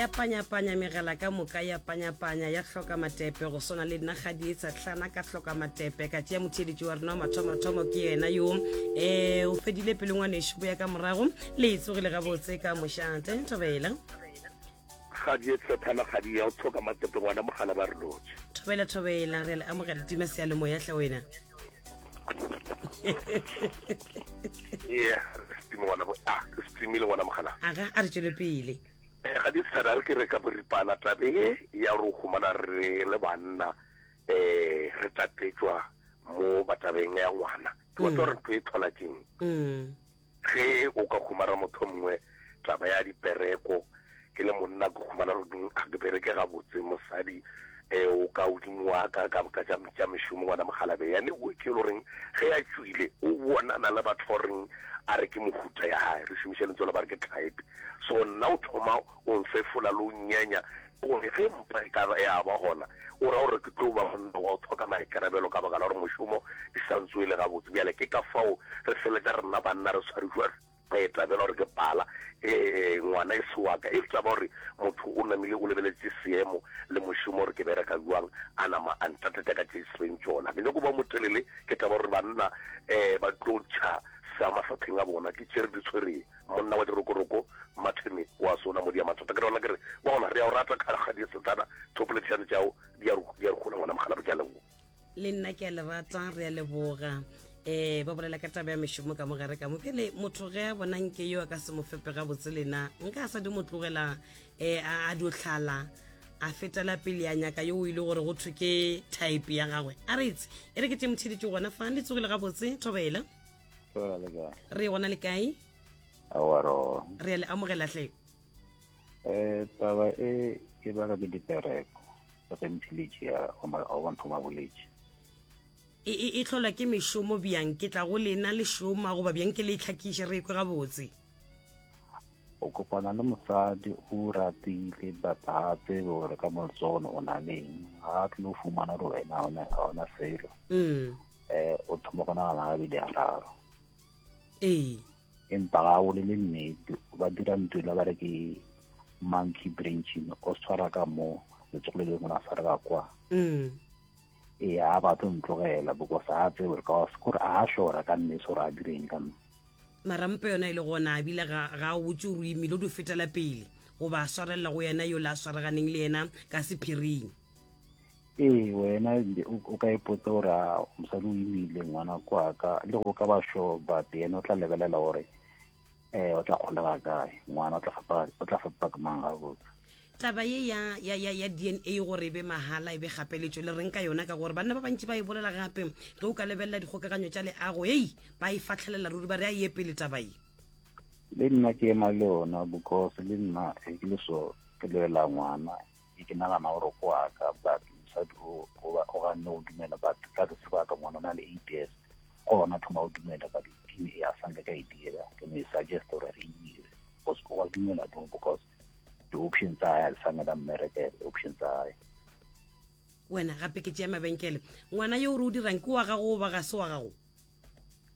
Ya panyapanya megala ka moka ya panyapanya ya hloka matepe go swana le nna ga di etsa hlana ka hloka matepe ka tšea motheeletši wa rena wa mathomothomo ke yena yo um o fedile pele ngwanešu bo ya ka morago le e tsogile gabotse ka mošate thobela Ga di etsethana ga di ya o tlhoka matepe ngwana mogala ba re lotše. Thobela thobela re le amogela tima seyalemoya hle wena. Yeah, re stream ngwana bo ah, re streamile ngwana mogala. Aga a re tšwele pele. Eh, ga di tshana re ke re ka boripana tabe ye ya re humana re le banna eh re tatetšwa mo batabeng ya ngwana. Ke batla gore ntho e tlhola keng. Mm. Ge o ka humana motho mongwe taba ya dipereko, ke le monna ke humana gore ga ke bereke gabotse, mosadi um o ka godimo wa ka ka ka tša tša mešomo ngwana mokgalabje yane o ke le goreng ge a tšwile o bonana le batho ba goreng a re ke mohuta ya gae re šomiša lentswe la ba re ke type so nna o thoma o nfefola le o nyenya Gore ge mpa e ka ya ba gona, o ra gore ke tlo ba monna wa go hloka maikarabelo ka baka la gore mošomo e sa ntsoele gabotse. Bjale ke ka fao re feletša rena banna re tshwarišwa taba ela gore ke pala, ee, ngwana e se wa ka. E taba gore motho o namile o lebeletše seemo le mošomo gore ke bereka bjang, a nama a ntatetša ka tše e seng tšona. Ke nyako ba motelele, ke taba gore banna um ba tlo ntšha sa mafapheng a bona, ke tše re di tshwereng. Monna wa dirokoroko, Martin wa sona modi ya mathata. Ke rona ke re, bona, re a o rata kgadi setsana, thopoledišano tšao di a di a re gola ngwana mogala ke a leboga. Le nna ke a le rata, re a leboga. Eh ba bolela ka taba ya mešomo ka mogare ka mo pele motho ge a bona nke yo a ka se mo fepe gabotse lena nka a sa di mo tlogela eh a a dio tlhala a fetela pele a nyaka yo o ile gore go thwe ke type ya gagwe a re itse e re ke tše motheletše gona fa le tsogile gabotse thobela Re gona le kae? Aowa re gona. Re a le amogela hle. Eh taba e e baka ke dipereko ge mphilitše ya wa nthoma boletše. E e e tlhola ke mešomo bjang ke tla go lena le šoma goba bjang ke le itlhakiše re kwe gabotse. O kopana le mosadi o ratile but ga a tsebe gore ka moltsone o na leng ga a tlilo fumana gore wena ga ona selo. Mm. Eh o thoma go nagana gabedi gararo. Ee. Empa ga o le nnete ba dira ntho e ba re ke monkey branching o tshwara ka mo letsogo le lengwe la tshwara ka kwa. Mm. Ee a ba tlo ntlogela because a tsebe gore ka gore a shora ka nnete gore a direng ka nna. Mara mpe yona e le gona ebile ga ga o botse o imile o di fetela pele goba a swarelela go yena yo le a swareganeng le yena ka sephiring. Ee, wena o ka ipotsa gore a mosadi o imile ngwana kwa ka le go ka ba sure but yena o tla lebelela gore um o tla kgolega kae ngwana o tla fepa o tla fepa ke mang gabotse. Taba ye ya ya ya ya DNA gore e be mahala e be kgapeletšo le reng ka yona ka gore banna ba bantši ba e bolela gape ge o ka lebelela dikgokaganyo tša leago hei ba e fahlelela ruri ba re a ye pele taba ye. Le nna ke ema le yona because le nna ge ke le so ke lebelela ngwana Ke ke nagana gore ko wa ka but mosadi o o ganne go dumela but ka se sebaka ngwana o na le 8 years ko gona thoma go dumela but DNA a sanka ka e dira ke mo e suggest gore re e dire because o wa dumela no because di-option tsa hae a di sanka da mmerekela di-option tsa hae. Wena gape ke tšea mabenkele ngwana yo o re o dirang ke wa gago goba ga se wa gago?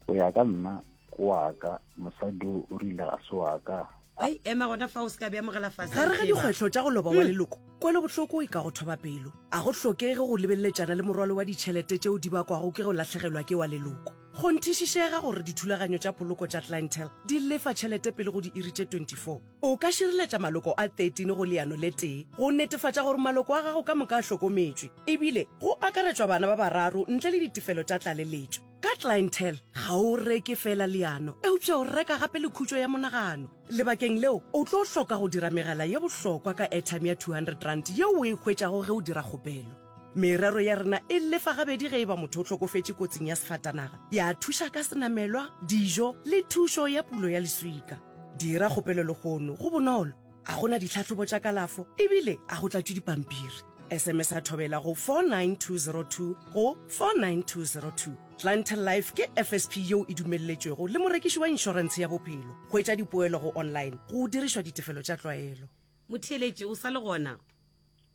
Go ya ka nna ke wa ka, mosadi o o rile ga se wa ka. Ai, ema gona fa o se ka bea mogala fase. Gare ga dikgwetlho tša go loba wa leloko, kwelobohloko e ka go thoba pelo. A go hlokege go lebeleletšana le morwalo wa ditšhelete tšeo di bakwago ke go lahlegelwa ke wa leloko. Kgonthišišega gore dithulaganyo tša poloko tša Clientele di lefa tšhelete pele go diiri tše 24. O ka šireletša maloko a 13 go leano le tee go netefatša gore maloko a gago ka moka a hlokometšwe, ebile go akaretšwa bana ba bararo ntle le ditefelo tša tlaleletšo. Ka Clientele, ga o reke feela leano, eupša o reka gape le khutšo ya monagano. Lebakeng leo, o tlo hloka go dira megala ye bohlokwa ka airtime ya R200 yeo o e hwetšago ge o dira kgopelo. Merero ya rena e lefa gabedi ge e ba motho o hlokofetše kotsing ya sefatanaga, ya thuša ka senamelwa, dijo le thušo ya pulo ya leswika. Dira kgopelo lehono, go bonolo, a go na ditlhahlobo tša kalafo ebile a go tlatšwe dipampiri. SMS a thobela go 49202 go 49202. Clientele Life ke FSP yeo e dumelletšwego le morekiši wa inšorentshe ya bophelo. Hwetša dipoelo go online go dirišwa ditefelo tša tlwaelo. Motheeletši, o sa le gona?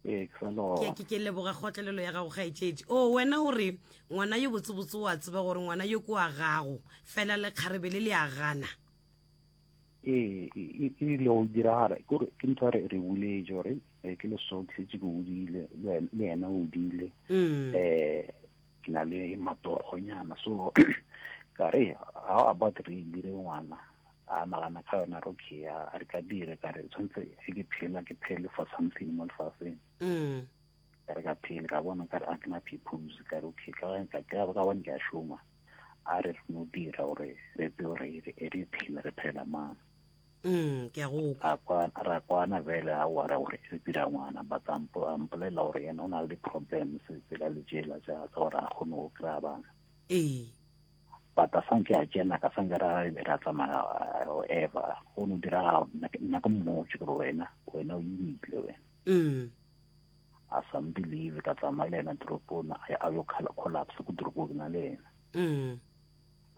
Ee, ke sa le gona. Ke, ke leboga kgotlelelo ya gago kgaetšedi. O, wena o re ngwana yo botsebotse o a tseba gore ngwana yo ke wa gago, fela lekgarebe le le a gana. Ee, e ile go diragala kore ke ntho re re buletše gore eh, ke le so ke šetše ke godile le yena o godile um ke na le matogonyana so ka re how about re dire ngwana a nagana ka yona re okay a re ka dire ka re tshwanetse ge ke phela ke phele for something mo lefaseng mm. ka re ka phele ka bona ka re a ke na purpose ka re okay ka ka ka bone ke a šoma a re re no dira gore re tsebe gore re phela re phela mang mm ke a go kwa ra kwana vele a wa ra gore re dira ngwana but a mpolelela gore yena o na le di-problems tsela le tšela tša gore a kgone go kry-a bana ee but a sanke a tsena ka sanke ra ra tsamaya ever go no dira nna ke mmotse gore wena wena o imile wena mm a sa mbelieve ka tsamaya le yena toropong a yo collapse ko toropong na le yena mm.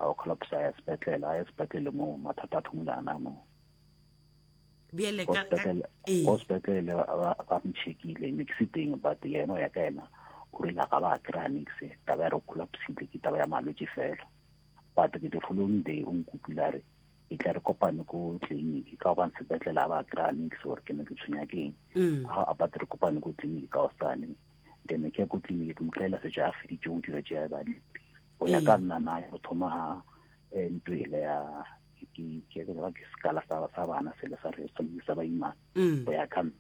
a yo collapse a ya sepetlele a ya sepetlele moo mathata a thomile ana moo bjale ko sepetlele ba mcheckile ne ke se teng but yena o ya ka yena o rile ga ba kry-a nix taba ya re collapsile ke taba ya malwetse fela but ke the following day o nkopile a re e tla re kopane ko tleliniki ka gobane sepetlele a ba kry-a nix gore ke ne ke tshwenya ke eng mm. a ba re kopane ko tleliniki ka osane then ke ya ko tleliniki ke mo kry-ela setse a feditse go dira tše ba go ya ka mm. nna na go thoma ga eh, ntlo ele ya ke sekala sa bana sele sa re sa baimana mm. go ya ka nna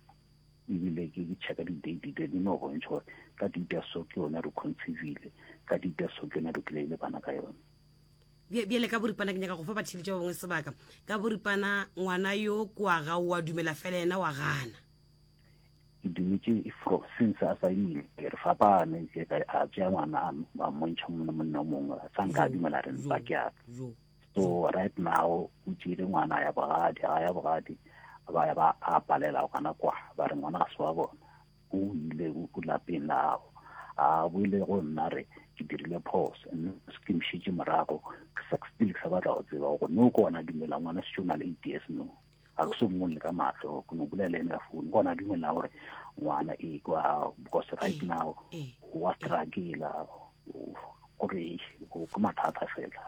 ebile ke checka di-date di no bontšha gore ka date ya so ke yone re conceivile ka date ya so ke yone re kry-ile bana ka yone bjale ka boripana ke nyaka go fa batheletša ba bangwe sebaka ka boripana ngwana yo kwa ga o a dumela fela yena wa gana ke dumetše since a sa imile re fapane ke ka a tšea ngwana a mmontšha monna monna o mongwe sa nka a dumela re mpa ke aka so right now o tšeile ngwana ya bogadi ga ya bogadi ba ya ba a palela gona kwa ba re ngwana ga se wa bona o ile o lapeng la gago a boile go nna re ke dirile phoso mme ke mšitše morago ke sa still ke sa batla go tseba gore no ke ona dumela ngwana setse o na le eight years no ga ke so mmone ka matlho ke no bolela ene ka founu ke ona dumela gore ngwana e kwa because right now wa struggle gore ke mathata fela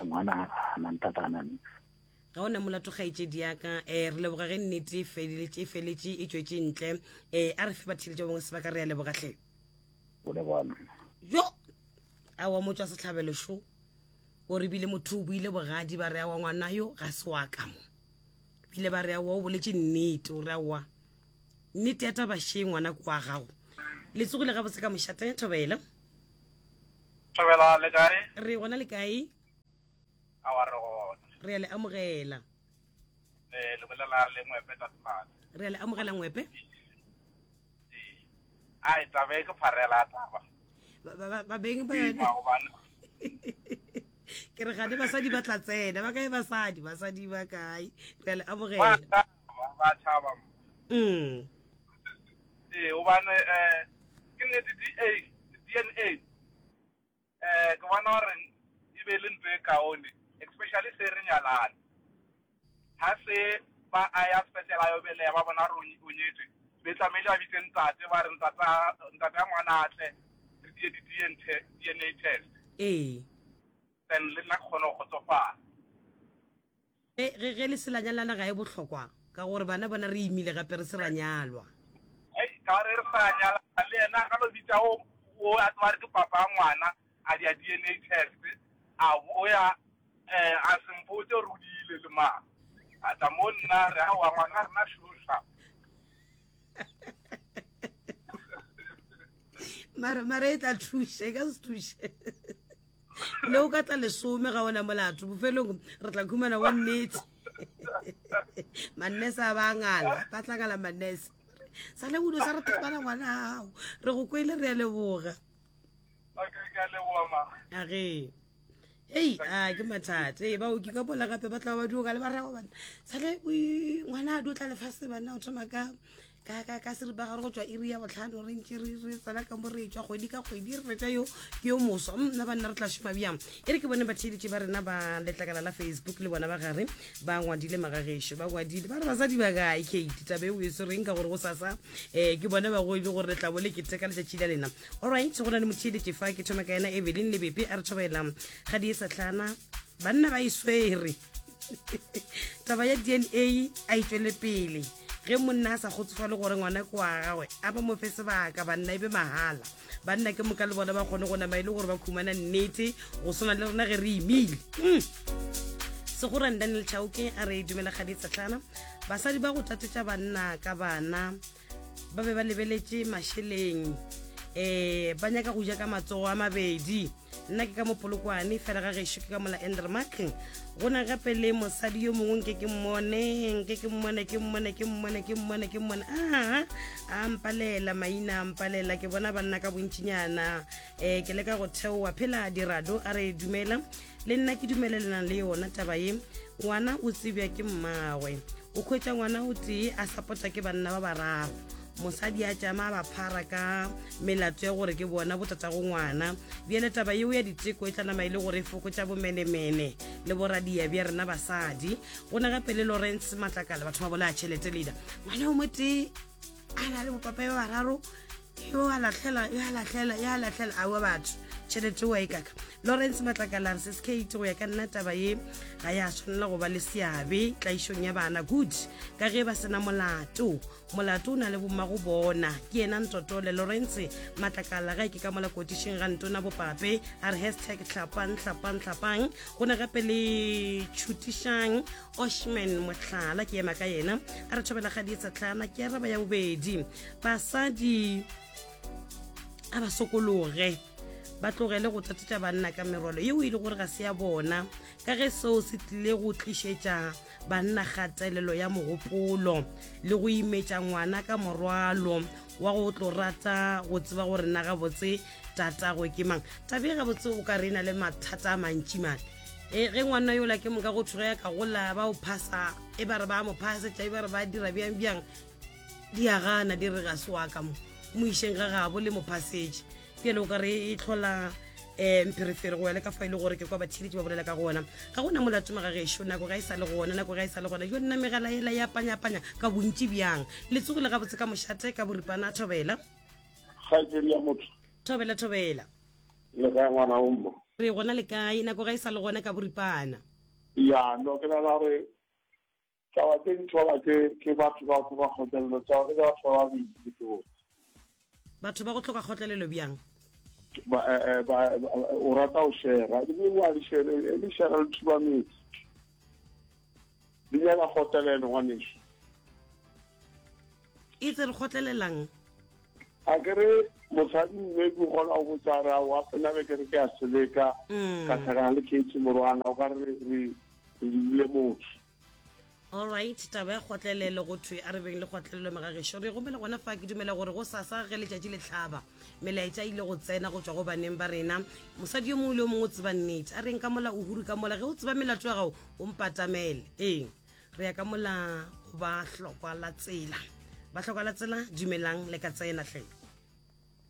ngwana a na ntata a na nix Ga o na molato kgaetšedi ya ka. Um re leboga ge nnete e feleletše e feletše e tšwetše ntle. Um a re fe batheeletši ba bangwe sebaka re a leboga hle. O leboga nna. Jo! Aowa motšwa sehlabelo šo. O re bile motho o buile bogadi ba re aowa ngwana yo ga se wa ka mo. Bile ba re aowa o boletše nnete o re aowa nnete ya taba še ngwana ke wa gago. Le tsogile gabotse ka mošate Thobela. Thobela le kae? Re gona le kae? Awa re gona. Re a le amogela. Eh, le bolela le Ngwepe Tatemane. Re a le amogela Ngwepe. Ee. Ai taba e ke pharela taba. Ba beng ba yone. Ke re gane basadi ba tla tsena ba kae basadi basadi ba kae re a le amogela. Ba tšhaba. Mm. Ee, gobane eh ke nnete DA DNA Eh, ke bona gore e be le ntho e kaone, especially se re nyalane. Ha se ba a ya sepetlele a yo beleya, ba bona gore o nyetswe, be tlamehile ba bitse ntate, ba re ntate ntate a ngwana a tle, re die di DNA test. Ee. Then le nna ke kgone go kgotsofala. Ge, ge, ge le se la nyalana ga e bohlokwa, ka gore bana bona re imile gape re se ra nyalwa. Hei, ka gore re sa nyalana le yena, a ka no bitša o, o a tseba re ke papa wa ngwana, a dia DNA test, a boya, eh, a se mpotše gore o diile le mang. A tla mo nna, re aowa ngwana rena šoša. Mara, mara e tla thuša, e ka se thuše. Le o ka tla lesome ga ona molato bofelong re tla khumana wa nnete mannese a ba ngala ba tla ngala mannese sa le budo sa re thapana ngwana gago re go kwele re a leboga a ge hei a ke mathata ee baoki ka bola gape ba tla ba dioka le ba rego bana sale ngwana a dio tla lefase banna o thoma ka ka ka ka seripa gare go tšwa iri ya botlhano re ntše re re tsena ka mo re tšwa kgwedi ka kgwedi re fetša yo ke yo moswa mm, nna banna re tla šoma bjang e re ke bone batheeletši ba rena ba letlakala la facebook le bona ba gare ba ngwadile magagešo ba ngwadile ba re basadi ba kae kate tabe o e swereng ka gore go sasa um ke bone ba goile gore le tla bo le keteka letšatši la lena alright go na le motheeletši fa ke thoma ka yena evelyn lebepe a re thobela ga di e sa tlhana banna ba e swere. Taba ya DNA a e tšwele pele. Ge monna a sa kgotsofale gore ngwana ke wa gagwe, a ba mo fe sebaka, banna e be mahala. Banna ke moka le bona ba kgone go nama e le gore ba khumana nnete go swana le rena ge re imile. Mm. Segorane Daniel Chauke a re dumela kgadi tsetlana. Basadi ba go tatetša banna ka bana ba be ba lebeletše mašeleng um ba nyaka go ja ka matsogo a mabedi nna ke ka mo polokwane fela ga gešo ke ka mola endermark go na gape le mosadi yo mongwe nke ke mmone nke ke mmone ke mmone ke mmone ke mmone ke mmone aa a mpalela maina a mpalela ke bona banna ka bontšinyana um ke leka go theoa phela dirado a re dumela Le nna ke dumelelana le yona taba ye. Ngwana o tsebja ke mmagwe. O hwetša ngwana o tee a sapota ke banna ba bararo. Mosadi a tšama a ba phara ka melato ya gore ke bona botatago ngwana. Bjale taba yeo ya diteko e tla nama e le gore e fokotša bomenemene le boradia bja rena basadi. Go na gape le Lawrence Matlakala, batho ba bolaya tšhelete leader. Ngwana o motee a na le bopapa ba bararo yo a lahlela yo a lahlela yo a lahlela aowa batho tšhelete oa e kaka lawrence matlakala re se skate go ya ka nna taba ye ga ya tshwanela go ba le seabe tlaišong ya bana good ka ge ba sena molato molato o na le bomma go bona ke yena ntotole lawrence matlakala ga e ke ka mola kotišeng ga ntona bopape a re hashtag hlapang hlapang hlapang go ne gape le tšhutišang Oshman Mohlala ke ema ka yena a re thobela ga dietsatlana ke araba ya bobedi basadi a ba sokologe ba tlogele go tatetša banna ka merwalo yeo e le gore ga se ya bona ka ge seo se tlile go tlišetša banna kgatelelo ya mogopolo le go imetša ngwana ka morwalo wa go tlo rata go tseba gore na gabotse tatagwe ke mang tabe gabotse o ka re na le mathata a mantši mane E, ge ngwana yola ke moka go thwe ge ka gola ba o phasa e ba re ba mo phasetša e ba re ba dira bjang bjang di a gana di re ga se wa ka mo mo išeng ga gabo le mo phasetše bjale o ka re e tlhola um mpherefere go ya le ka fa e le gore ke kwa batheeletši ba bolela ka gona ga gona molato magagešo nako ga e sa le gona nako ga e sa le gona yo nna megala ela ya panyapanya ka bontši bjang le tsogile gabotse ka mošate ka boripana thobela kgaitsedi ya motho thobela thobela Le kae ngwana o mma? Re gona le kae, nako ga e sa le gona ka boripana. Ya, no ke nagana gore taba tse di thola ke ke batho ba go ba kgotlelelo, taba ke batho ba babedi ke botse. Batho ba go hloka kgotlelelo bjang? Ba, eh, eh, ba, o rata go shera, ebile wa le shere, e le shera le thuba metsi. Di nyaka kgotlelelo ngwaneso. E tse re kgotlelelang? A ke re mosadi mme ke kgona go botsa re aowa nna be ke re ke a seleka mm. ka tlhakana le kate morwana o ka re re re dule motho allright taba ya kgotlelelo go thwe a re beng le kgotlelelo megagešo re gomela gona fa ke dumela gore go sasa ge letšatši le tlhaba melaetša ile go tsena go tšwa go baneng ba rena mosadi yo mongwe le yo mongwe o tseba nnete a reng ka mola o huru ka mola ge o tseba melato ya gago o mpatamele ee re ya ka mola go ba hlokwa la tsela ba hlokwa la tsela dumelang le ka tsena hle.